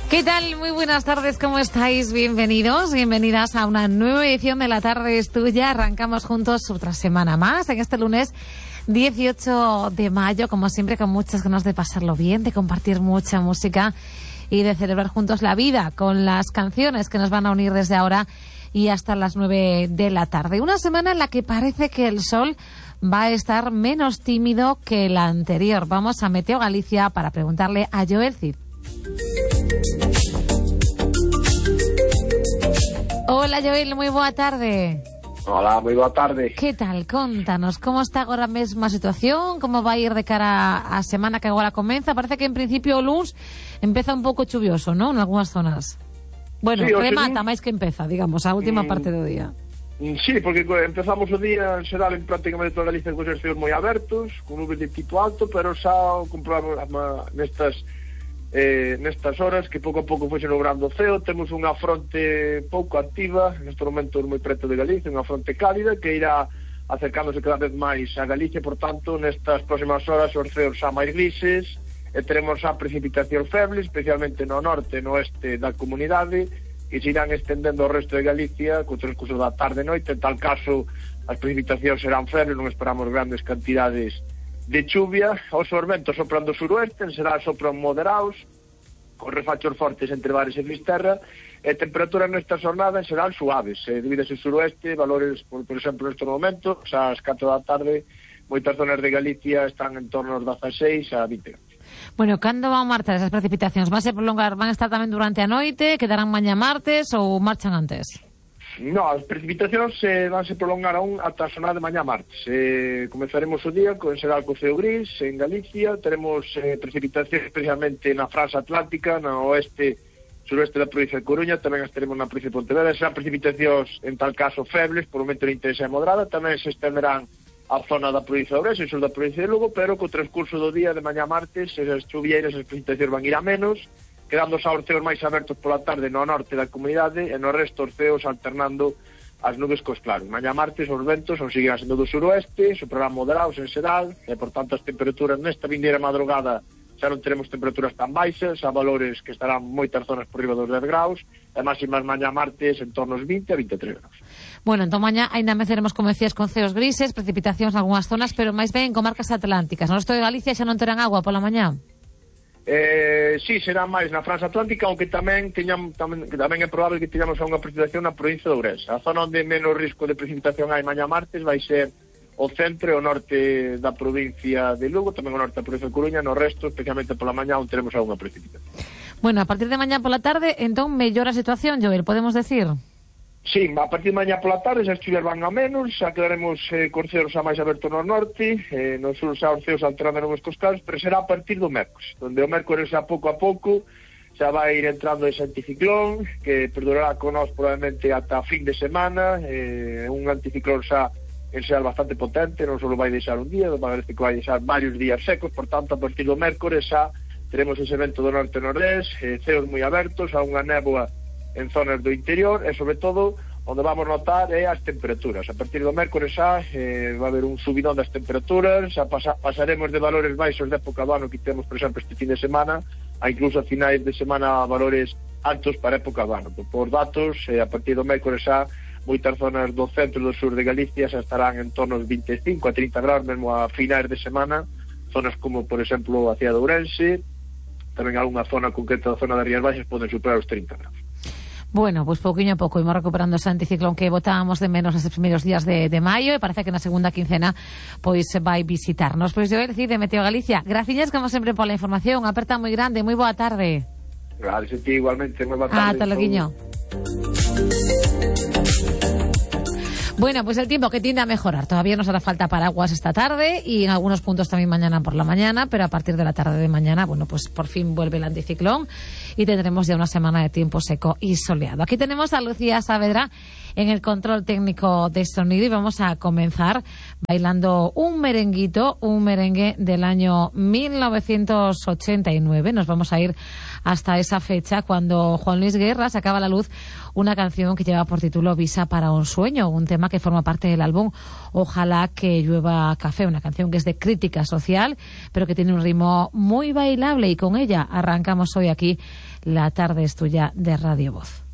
¿Qué tal? Muy buenas tardes, ¿cómo estáis? Bienvenidos, bienvenidas a una nueva edición de La Tarde es Tuya. Arrancamos juntos otra semana más en este lunes 18 de mayo, como siempre, con muchas ganas de pasarlo bien, de compartir mucha música y de celebrar juntos la vida con las canciones que nos van a unir desde ahora y hasta las 9 de la tarde. Una semana en la que parece que el sol va a estar menos tímido que la anterior. Vamos a Meteo Galicia para preguntarle a Joel Cid. Hola Joel, moi boa tarde. Hola, moi boa tarde. Que tal? Contanos, como está agora a mesma situación? Como vai ir de cara á semana que agora comeza? Parece que en principio o luns empeza un pouco chuvioso, non? En algunhas zonas. Bueno, sí, remata máis que empeza, digamos, a última parte do día. Sí, porque empezamos o día en xeral en prácticamente toda Galicia con os céus moi abertos, con nubes de tipo alto, pero xa comprobamos nestas horas que pouco a pouco foi logrando o ceo. Temos unha fronte pouco activa neste momento moi preto de Galicia, unha fronte cálida que irá acercándose cada vez máis a Galicia. Por tanto, nestas próximas horas os ceos xa máis grises e teremos xa precipitación feble, especialmente no norte e no oeste da comunidade, que se irán estendendo ao resto de Galicia co transcurso da tarde e noite. En tal caso as precipitacións serán febles, non esperamos grandes cantidades de chuvia. Os ventos sopran do suroeste, en xeral sopran moderados, con refachos fortes entre Bares e Fisterra, e temperaturas nesta jornada en xeral suaves, debido ao suroeste, valores, por exemplo, neste momento, ás 4 da tarde, moitas zonas de Galicia están en torno aos 16 a 20 grados. Bueno, cando van marchar esas precipitacións? Van a prolongar, van a estar tamén durante a noite, quedarán mañá martes ou marchan antes? No, as precipitacións vanse prolongar aún ata a xornada de mañá martes. Comezaremos o día con xeral co ceo gris en Galicia. Teremos precipitacións especialmente na franja atlántica, no oeste, suroeste da provincia de Coruña. Tamén as teremos na provincia de Pontevedra. Serán precipitacións en tal caso febles, por un momento de intensidade moderada. Tamén se estenderán a zona da provincia de Ourense e sur da provincia de Lugo, pero co transcurso do día de mañá martes as chuvieiras, as precipitacións van ir a menos, quedando xa os ceos máis abertos pola tarde no norte da comunidade e no resto os ceos alternando as nubes cos claros. Mañá martes os ventos seguirán sendo do suroeste, soprarán moderados en xeral e, por tanto, as temperaturas nesta vindeira madrugada xa non teremos temperaturas tan baixas, a valores que estarán moitas zonas por riba dos 10 graus e máximas mañá martes en torno aos 20 a 23 graus. Bueno, entón mañá ainda meceremos, como decías, con ceos grises, precipitacións en algunhas zonas, pero máis ben en comarcas atlánticas. No resto de Galicia xa non terán agua pola mañá? Sí, será máis na franja atlántica, aunque tamén é probable que teñamos unha precipitación na provincia de Ourense. A zona onde menos risco de precipitación hai mañá martes vai ser o centro e o norte da provincia de Lugo, tamén o norte da provincia de Coruña. No resto, especialmente pola mañá, onde teremos algunha precipitación. Bueno, a partir de mañá pola tarde, entón, mellora a situación, Joel, podemos decir? Sí, a partir de mañá pola tarde as chuvias van a menos, xa quedaremos con ceos xa máis abertos no norte, no sur xa os ceos alternando nubes cos claros, pero será a partir do mércores, onde o mércores xa pouco a pouco xa vai ir entrando ese anticiclón, que perdurará con nós probablemente ata fin de semana, un anticiclón xa en xeral bastante potente, non só vai deixar un día, parece que vai deixar varios días secos. Por tanto, a partir do mércores xa teremos ese vento do norte e nordeste, ceos moi abertos, a unha néboa en zonas do interior e, sobre todo, onde vamos notar é as temperaturas. A partir do mércores xa vai haber un subidón das temperaturas, xa pasaremos de valores baixos de época do ano que temos, por exemplo, este fin de semana, a incluso a finais de semana valores altos para época do ano. Por datos, a partir do mércores xa moitas zonas do centro e do sur de Galicia xa estarán en torno aos 25 a 30 graus, mesmo a finais de semana, zonas como, por exemplo, a cidade de Ourense, tamén algunha zona concreta da zona das Rías Baixas poden superar os 30 graus. Bueno, pues pouquinho a pouco imos recuperando ese anticiclón que botábamos de menos nestes primeiros días de maio e parece que na segunda quincena pois vai visitarnos. Pois eu decir de Meteo Galicia, graciñas como sempre pola información, aperta moi grande, moi boa tarde. Gracias a ti igualmente, moi boa tarde. Ata loguiño. Bueno, pues el tiempo que tiende a mejorar. Todavía nos hará falta paraguas esta tarde y en algunos puntos también mañana por la mañana, pero a partir de la tarde de mañana, bueno, pues por fin vuelve el anticiclón y tendremos ya una semana de tiempo seco y soleado. Aquí tenemos a Lucía Saavedra en el control técnico de sonido y vamos a comenzar bailando un merenguito, un merengue del año 1989. Nos vamos a ir hasta esa fecha cuando Juan Luis Guerra sacaba a la luz una canción que lleva por título Visa para un sueño, un tema tema que forma parte del álbum Ojalá que llueva café, una canción que es de crítica social, pero que tiene un ritmo muy bailable, y con ella arrancamos hoy aquí La tarde es tuya de Radio Voz.